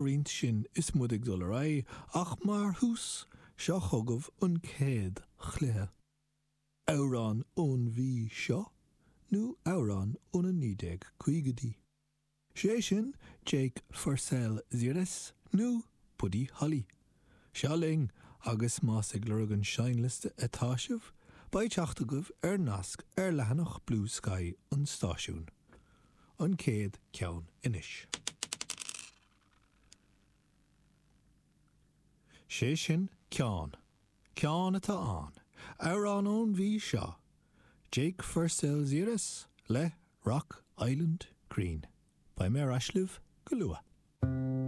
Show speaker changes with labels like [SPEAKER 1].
[SPEAKER 1] Roinnt sin is muid ag dul ar aghaidh, ach mar thús, seo chugaibh an chéad chluiche. Amhrán ón mhí seo nó amhrán ó na 1950idí? Sé sin Jake Fursell-Zieris nó Buddy Holly. Seo linn, agus más ag lorg an seinnliosta atá sibh, beidh teacht agaibh ar nasc ar leathanach Bluesky an stáisiúin. An chéad cheann anois. Sé sin ceann. Ceann atá ann. Amhrán ón mhí seo. Jake Fursell-Zieris le Rock Island Green. Beidh mé ar ais libh go luath.